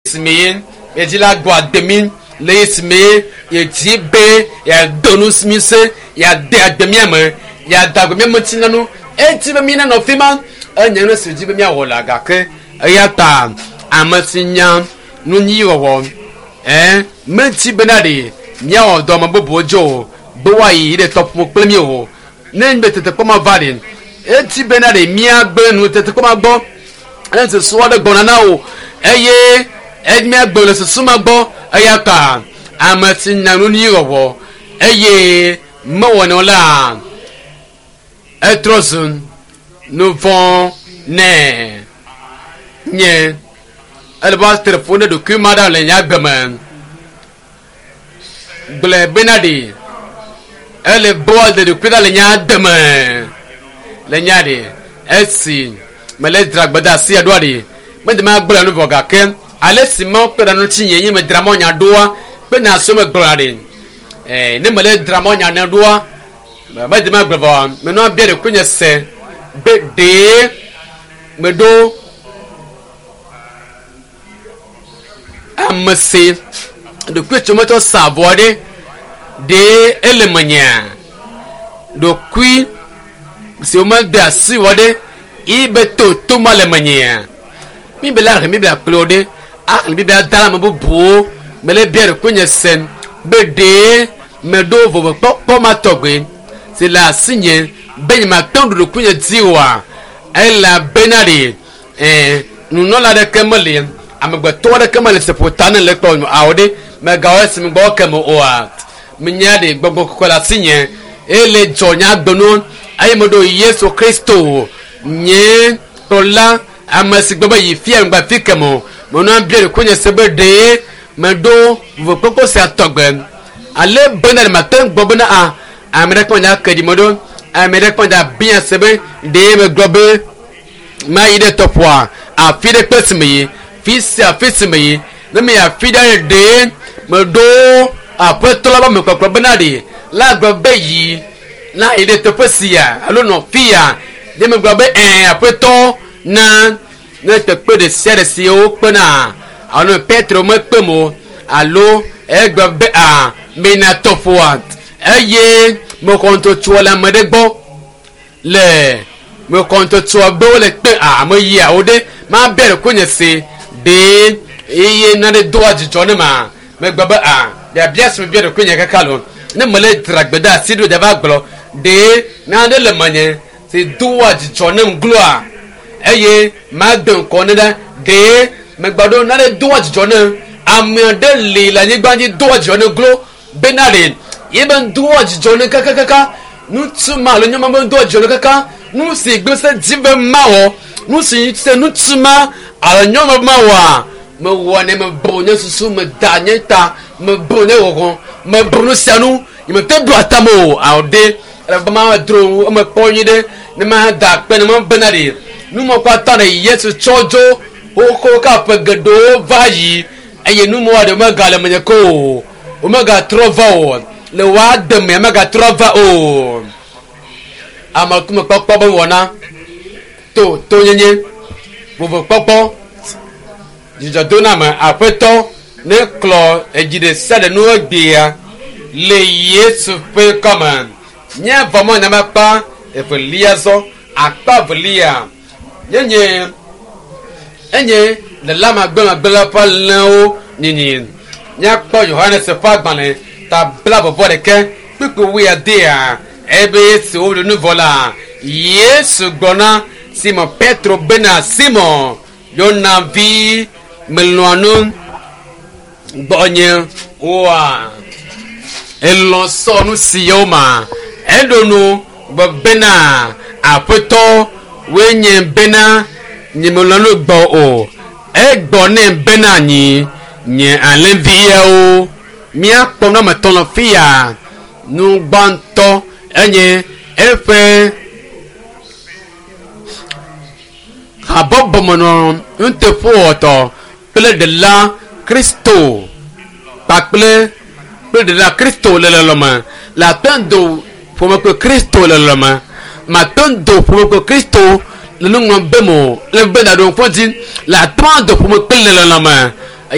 Esime ye edzi la gbɔ ade mi le esime ye yedzi be yeado nu mi se yeade agbe mía me yeada agbe mía me ŋuti na nu edzi be mi nanɔ fi ma enye nu si dzi be míawɔ la gake eya ta ame si nya nu nyui wɔwɔ ɛ medzi bena ɖe míawɔ dɔ ame bubuwo dzi o be woayi ɖe tɔƒo kple mí o ne be tetekpɔ ma va ɖe edzi bena ɖe míagbe nu tetekpɔ ma gbɔ ne susu aɖe gbɔna na wò eye míagbe le susu ma gbɔ eya ta ame si nya nu nyui wɔwɔ eye mewɔnɛ o la etrɔ zu nu vɔ̃ nɛ nye ele be woatre ƒo ne ɖokui ma ɖa le nye agbe me gblɔe bena ɖe ele be woaɖe ɖokui ɖa le nye agbe me le nya ɖe esi mele dzra gbedeasi ɖoa ɖe mede ma gblɔ nu vɔ gake ale si mawo kpe ɖe ŋuti nye nye medzra mɔ nya ɖoa kpe nya siwo megblɔna ɖe ee ne mele dzra mɔ nya ne ɖoa mede ma gblɔ vɔ menɔa bia ɖokui nye se be ɖee meɖo ame si ɖokui tso metsɔ sa avɔ ɖe ɖee ele menyea ɖokui si womede asi wɔ ɖe ibe to to ma le menyea mi be la xlẽ biblia kple wo ɖe axlẽ biblia da ame bubuwo mele bia ɖokui nye se be ɖee meɖo vovokpɔkpɔ ma tɔgbe si le asinye be nyemate ŋu ɖu ɖokui nye dzi oa elabena ɖe ɛɛ nunɔla ɖeke meli amegbetɔ aɖeke meli si ƒo ta ne le kpɔ awo ɖe megawɔ esi mi gbɔ ke me oa menya ɖe gbɔgbɔ kɔkɔe le asinye ele dzɔ nye agbenu eye meɖo Yesu Kristo nye kplɔla ame si gbɔ be yi fia ŋgba fi ke me o menɔa bia ɖokui nye se be ɖee meɖo vovokpɔkpɔ sia tɔgbe ale bena ɖe mate ŋu gbɔ bena a ame ɖe kpɔ nya ke ɖi meɖo ame ɖe kpɔ nya bia se be ɖee megblɔ be mayi ɖe tɔƒoa afi ɖe kpe si me yi fi sia fi si me yi ne me yi afi ɖe ɖee meɖo aƒetɔ la be ame kpɔkplɔ bena ɖe la gblɔ be yi na yi ɖe teƒe sia alo nɔ fi ya ɖe megblɔ be ɛɛ aƒetɔ na ne kpekpe ɖe sia ɖe si wokpena alo Petro mekpem o alo egblɔ be a meyina tɔƒoa eye mexɔ ŋutɔtsoa le ame ɖe gbɔ le mexɔ ŋutɔtsoa be wole kpe a ame yia wo ɖe mabia ɖokuinye nye se ɖee eye nane doa dzidzɔ ne ma megblɔ be a biabia si mebia ɖokuinye kaka lo ne mele dzra gbedeasi ɖo dza va gblɔ ɖee nane le menye si doa dzidzɔ nem gloa eye made ŋkɔ ne ɖa ɖee megblɔ ɖo nane doa dzidzɔ nem ame aɖe li le anyigba dzi doa dzidzɔ ne glo bena ɖe ye be doa dzidzɔ ne kakakaka ŋutsu ma alo nyɔnu ma be doa dzidzɔ ne kaka nu si gbe se dzi be mawɔ nu si se ŋutsu ma alo nyɔnu ma wɔa mewɔ ne mebu nye susu meda nye ta mebu nye wɔgɔ mebu nu sia nu nyemete ɖo atame o awo ɖe ele be ma dro eme kpɔ nyui ɖe ne ma da akpe ne ma bena ɖe numɔkpata ɖe Yesu tsɔ dzo xoxo ka ƒe geɖewo va yi eye numɔa ɖe megale menye ko o womegatrɔ va o le woa deme megatrɔ va o amekumekpɔkpɔ be wɔna to tonyenye vovokpɔkpɔ dzidzɔdoname aƒetɔ ne klɔ edzi ɖe sia ɖe nu egbea le Yesu ƒe kɔme míavɔ mɔ nyame akpa evelia zɔ akpa evelia nyenye enye le lamagblẽmagblẽ ƒe alẽwo nyinyi míakpɔ Yohanes ƒe agbalẽ ta bla vɔvɔ ɖeke kpukpui wuiadea ebe esi woɖu nu vɔ la Yesu gblɔ na Simon Petro bena Simon Yona vi melɔ̃a nu gbɔnye oa elɔ̃ sɔ nu siawo ma eɖo nu gblɔ bena aƒetɔ woe nye bena nyemelɔ̃ nu gbɔ o egbɔ nɛ bena nyi nye alẽviawo míakpɔ nu ame etɔ̃ le fi ya nu gbãtɔ enye eƒe habɔbɔmenɔ nuteƒewɔtɔ kple ɖela Kristo kpakple kple ɖela Kristo le lɔlɔme le ate ŋu do ƒome kple Kristo le lɔlɔme mate ŋu do ƒome kple Kristo le nu ŋlɔm be mo le be ɖaɖo ŋku dzi le ate ŋu ado ƒome kple le lɔlɔme.